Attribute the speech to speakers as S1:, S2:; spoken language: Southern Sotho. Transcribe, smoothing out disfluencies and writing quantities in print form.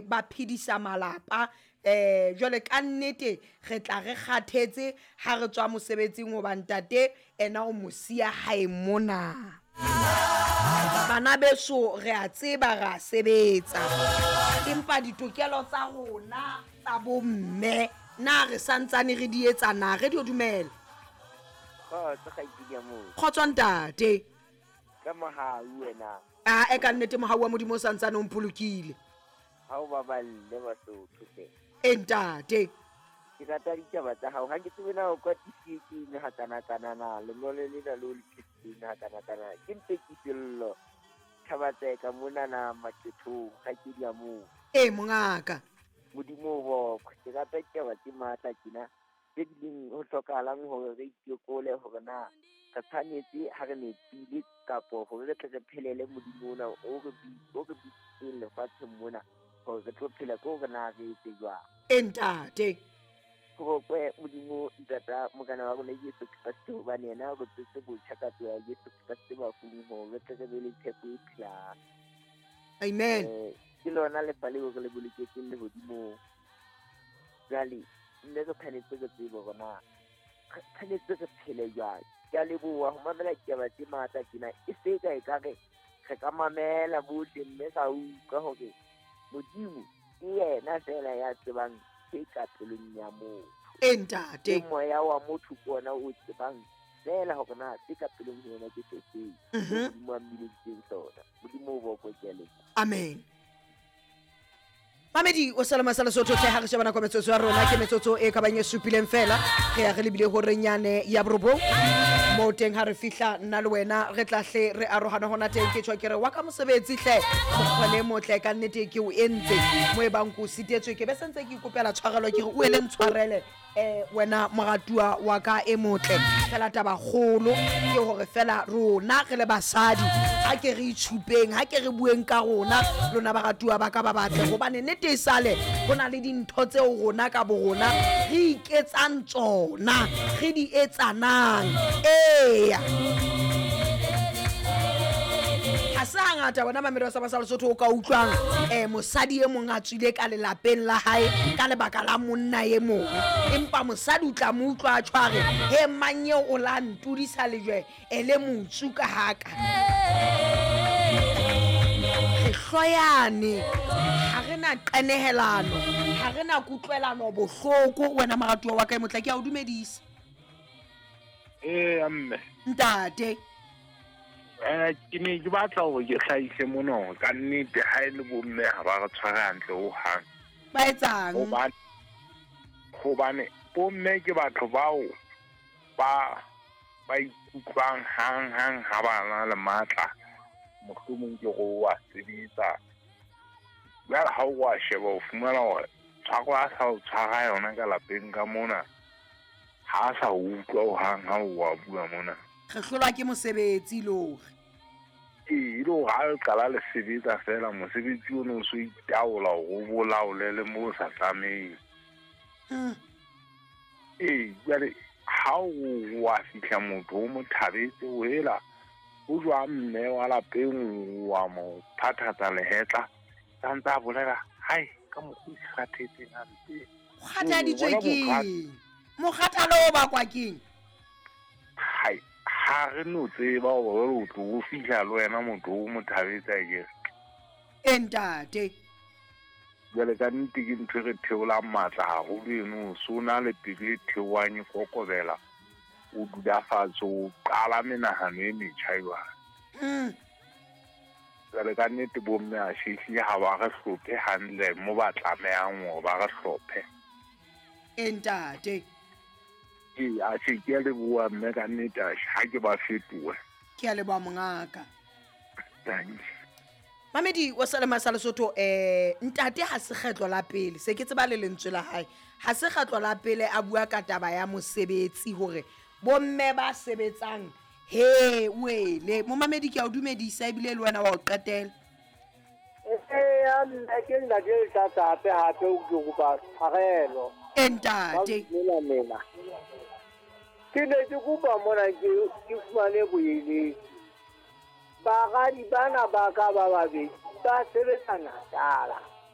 S1: Ba phedisa malapa um jwale ka nnete re tla re kgathetse ha re tswa mosebetsing hoba ntate ena o mo siya hae mona. Bana beso re a tseba re a sebetsa, empa ditokelo tsa rona tsa bomme na re santsane re di etsa na? Radio dumela.
S2: Kgotso kgaitsedi ya motho.
S1: Kgotso ntate.
S2: Ka mohau wena.
S1: A e ka nnete mohau wa Modimo o santsane o mpolokile.
S2: Ha o baballe Basotho hle.
S1: E ntate.
S2: Ke rata ditaba tsa hao. Ha ke tsebe na o kwatisitswe ke eng hakanakana na. Lengolo lena le o le phethileng hakanakana. Ke mpe ke sello. Thabatseka monana maqethong kgaitsedi ya moo.
S1: E mongaka.
S2: Modimo o bokwe. Ke rata ditaba tse matla tjena. Tse bileng ho hlokahalang hore re itekole hore na re tshwanetse ha re nepile kapo hore re tle re phelele Modimo ona o re o re bitsitseng lefatsheng mona hore re tlo phela ke hore na re etse jwang.
S1: E ntate.
S2: Ho bokwe Modimo Ntata Morena wa rona Jesu Kreste hobane yena o re tswetse botjha ka tsoho ya Jesu Kreste bafung hore re tle re be le tshepo e phelang.
S1: Amen.
S2: Ke lona lefa leo re le boloketseng lehodimong. Jwale mme re tshwanetse re tsebe hore na re tshwanetse re phele jwang. Ke a leboha ho mamela ditaba tse matla tjena. E se ka ekare re ka mamela bohle mme ra utlwa hore Modimo ke yena feela ya tsebang se ka pelong ya motho.
S1: E ntate.
S2: Ke moya wa motho ke ona o tsebang feela hore na se ka pelong ho yena ke se feng. Modimo a mmileditseng sona. Modimo o bokwe, ke a leboha.
S1: Amen. Mamedi o salama sa Lesotho tle ha re sheba nako metsotso ya rona ke metsotso e ka bang e supileng fela re ya re lebile ho renyane ya borobong mo teng ha re fihla nna le wena re tla hle re arohana hona teng ke tjho ke re wa ka mosebetsi hle mokgwa le motle ka nnete ke o entse mo e bang ko sitetswe ke be sentse ke ikopela tshwarelo ke re o ele ntshwarele Wena moratuwa wa ka e motle, fela taba kgolo ke hore fela rona re le basadi ha ke re itshupeng, ha ke re bueng ka rona lona baratuwa ba ka ba batle, hobane nnete e sale ho na le dintho tseo rona ka borona re iketsang tsona, re di etsanang. Eya, ha se hangata wena mamedi wa Saba sa Lesotho o ka utlwang mosadi e mong a tswile ka lelapeng la hae ka lebaka la monna e mong, empa mosadi o tla mo utlwa a tshware he mang eo o la ntudisa lejwe ele motsu ka haka. Re hloyane, ha re na qenehelano, ha re na kutlwelano bohloko. Wena moratuwa wa ka e motle, ke a o dumedisa.
S3: Ee, mme.
S1: Ntate.
S3: Ke ne ke batla hore ke hlahise mona hore ka nnete ha e le bomme ha ba re tshware hantle hohang.
S1: Ba etsang?
S3: Hobane bomme ke batho bao ba ba ikutlwang hang hang ha ba na le matla, mohlomong ke re wa sebetsa. Jwale ha o wa sheba o fumana hore tshwaro a sa o tshwara yona ka lapeng ka mona, ha a sa utlwa hohang ha o wa bua mona.
S1: Re hlolwa ke mosebetsi le hore.
S3: Ee, e le hore ha le qala le sebetsa fela, mosebetsi ono o so itaola hore o bolaole le mo o sa tlameheng. Ee, jwale ha o wa fihla motho o mo thabetse o hela, o jwang mme wa lapeng wa mo phathatsa lehetla, sa ntse a bolela, hai, ka mokgwa o kgathetseng hampe.
S1: O kgathaditswe keng? Mokgathalo o bakwa keng?
S3: Hai, ha re no tseba hore o tlo o fihla le wena motho o mo thabetse akere.
S1: E ntate.
S3: Jwale ka nnete ke ntho e re theolang matla haholo eno, so na le pelo e theohang e kokobela, o dula fatshe o qala menahano e metjha jwale. Jwale ka nnete bomme a shehlile ha ba re hlophe hantle mo ba tlamehang hore ba re hlophe.
S1: E ntate.
S3: Ee, a se ke a leboha mme ka nnete a ha ke ba fetohe.
S1: Ke a leboha mongaka.
S3: Thank you.
S1: Mamedi wa Salema sa Lesotho, ntate ha se kgetlo la pele, se ke tseba le lentswe la hae. Ha se kgetlo la pele a bua ka taba ya mosebetsi hore bomme ba sebetsang he wele. Momamedi ke a o dumedisa ebile le wena wa o qetela.
S4: Eya, nna ke ntate le tlatsa hape hape o ke kopa tshwarelo.
S1: E ntate.
S4: Ba mela. Ke ne ke kopa mona ke fumane boeletsi. Baradi bana ba ka ba babedi ba sebetsa Natala.